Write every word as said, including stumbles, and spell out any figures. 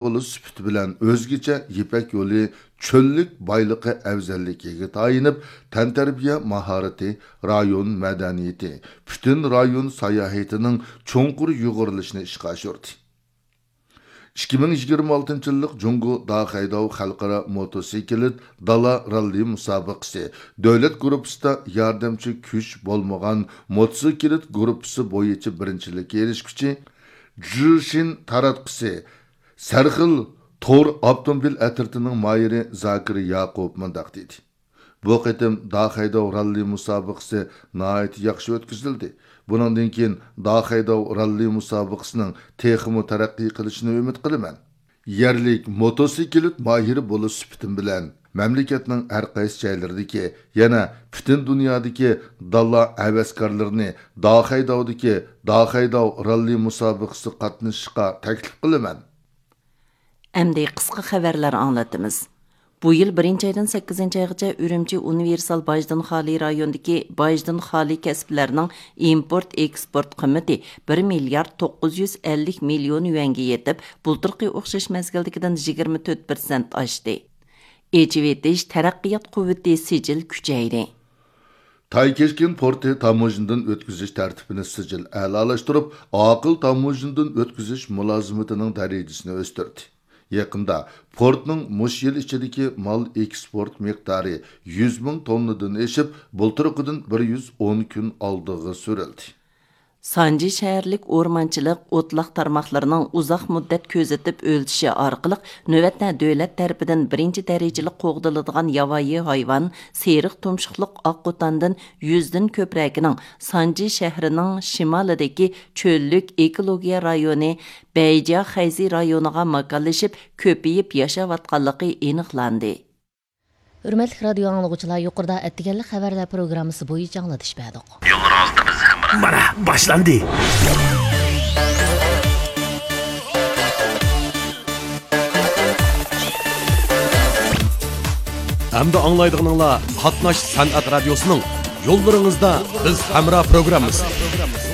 يولى سۈپىتى بىلەن ئۆزگىچە يىپەك يولى چۆللۈك بايلىقى ئەۋزەللىكىگە تايىنىپ، تەنتەربىيە ماھارىتى، رايون مەدەنىيىتى، پۈتۈن رايون ساياھىتىنىڭ چوڭقۇر يۇغۇرۇلۇشىنى ئىشقا ئاشۇردى. ئىككى مىڭ يىگىرمە ئالتىنچى يىللىق جۇڭگو داخەيداۋ خەلقئارا موتوسىكلىت دالا راللى مۇسابىقىسى دۆلەت گۇرۇپپىسىدا ياردەمچى كۈچ بولمىغان موتوسىكلىت گۇرۇپپىسى بويىچە بىرىنچىلىككە ئېرىشكۈچى جۈشىن تاراتقۇسى سەرخىل تور ئاپتوموبىل ئەترىتىنىڭ ماھىرى زاكىر ياقۇپ مۇنداق دېدى: بۇ قېتىم داخەيداۋ راللى مۇسابىقىسى ناھايىتى ياخشى ئۆتكۈزۈلدى. بۇنىڭدىن كېيىن داخەيداۋ راللى مۇسابىقىسىنىڭ تېخىمۇ تەرەققىي قىلىشىنى ئۈمىد قىلىمەن. يەرلىك موتوسىكلىت ماھىرى بولۇش سۈپىتىم بىلەن، مەملىكەتنىڭ ھەر قايسى جايلىرىدىكى، يەنە پۈتۈن دۇنيادىكى دالا ھەۋەسكارلىرىنى داخەيداۋدىكى داخەيداۋ راللى مۇسابىقىسىغا قاتنىشىشقا تەكلىپ قىلىمەن. ئەمدى قىسقا خەۋەرلەر ئاڭلىتىمىز. بۇ يىل بىرىنچى ئايدىن سەككىزىنچى ئايغىچە ئۈرۈمچى ئۇنىۋېرسال باجدىن خالىي رايونىدىكى باجدىن خالىي كەسىپلەرنىڭ ئىمپورت ئېكسپورت قىممىتى بىر مىليارد توققۇز يۈز ئەللىك مىليون يۈەنگە يېتىپ، بۇلتۇرقى ئوخشاش مەزگىلدىكىدىن يىگىرمە تۆت پىرسەنت ئاشتى. ئېچىۋېتىش، تەرەققىيات قۇۋۋىتى سىجىل كۈچەيدى. تايكېشكىن پورتى تاموژنىدىن ئۆتكۈزۈش تەرتىپىنى سىجىل ئەلالاشتۇرۇپ، ئاقىل تاموژنىدىن ئۆتكۈزۈش مۇلازىمىتىنىڭ دەرىجىسىنى ئۆستۈردى. يېقىندا پورتنىڭ مۇشۇ يىل ئىچىدىكى مال ئېكسپورت مىقدارى يۈز مىڭ توننىدىن ئېشىپ، بۇلتۇرقىدىن بىر يۈز ئون كۈن ئالدىغا سۈرۈلدى. سانجى شەھەرلىك ئورمانچىلىق، ئوتلاق تارماقلىرىنىڭ ئۇزاق مۇددەت كۆزىتىپ ئۆلچىشى ئارقىلىق، نۆۋەتتە دۆلەت تەرىپىدىن بىرىنچى دەرىجىلىك قوغدىلىدىغان ياۋايى ھايۋان سېرىق تۇمشۇقلۇق ئاققۇتاندىن يۈزدىن كۆپرەكىنىڭ سانجى شەھىرىنىڭ شىمالىدىكى چۆللۈك ئېكولوگىيە رايونى بەيجيا خەيزى رايونىغا ماكانلىشىپ، كۆپىيىپ ياشاۋاتقانلىقى ئېنىقلاندى. ھۆرمەتلىك رادىيو ئاڭلىغۇچىلار، يۇقىرىدا ئەتىگەنلىك خەۋەرلەر پروگراممىسى بويىچە ئاڭلىتىش بەردۇق. يوللىرىڭىزدا بىز ھەمراھ. مانا، باشلاندى. ئەمدى ئاڭلايدىغىنىڭلار قاتناش سەنئەت رادىيوسىنىڭ يوللىرىڭىزدا بىز ھەمراھ پروگراممىسى.